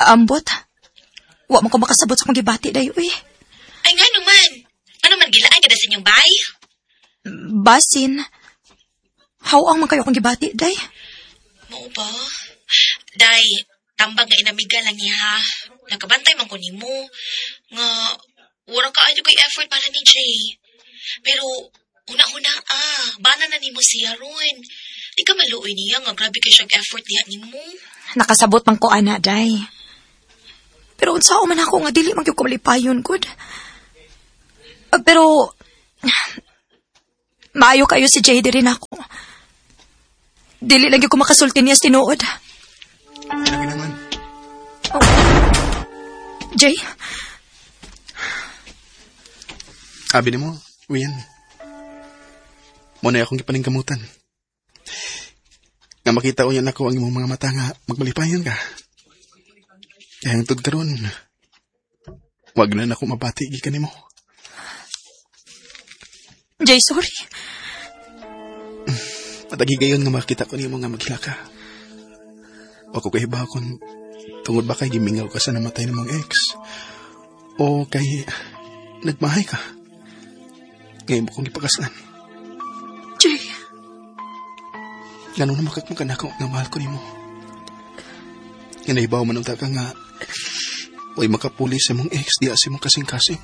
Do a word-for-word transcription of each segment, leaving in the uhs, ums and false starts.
Ambot. Wa man ko makasabot sa akong gibati day, uy. Ay, ngano man. Ano man gilaay kada sa inyong bay? Basin. Haw-ang man kayo akong gibati, day. Mao ba? Day, tambag nga inamiga lang niya ha. Nakabantay man ko nimo. Nga, wala kaayo kay effort para ni Jay. Pero, una-una ah, bana na nimo siya ron. Di ka maluoy niya nga grabe kay siyang effort diha nimo. Nakasabot man ko ana, day. Pero unsa man ako nga dili man gyud ko malipayon gud. Ah, pero maayo kayo si Jay diri nako. Dili lang gyud ko makasulti niya sa tinuod. Lagi naman. Oh. Jay, Abi nimo, Rian. Mo na akong gipaningkamutan. Nga makita ko yan ako ang imong mga mata nga magmalipayon ka. Kaya hangtod karon, wag na nako mabati gikan nimo. Jay, sorry. Matagigayon nga makita ko nimo nga maghila ka. Wa ko kahibaw kung tungod ba kay gimingaw ka sa namatay ng mong ex o kay nagmahay ka. Ngayon mo kong gipakaslan. Jay, Ngano na makakmakan ako nga mahal ko nimo. Nga nahibaw man unta ka nga way makapuli sa mong ex diya sa mong kasing-kasing.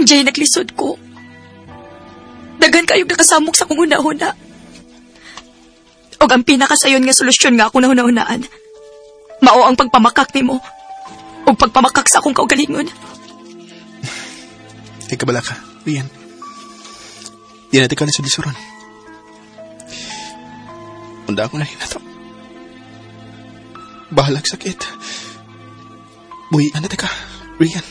Jay, naglisod ko. Daghan kayong nakasamok sa akong huna-huna. Og ang pinakasayon nga solusyon nga akong nahuna-hunaan, mao ang pagpamakak nimo. Og pagpamakak sa akong kaugalingon. Ay kabala ka, Rian. Di natin ka na sa lisuran. Unda ako na rin na to. Bahalag sakit. Buhian na ka, Rian.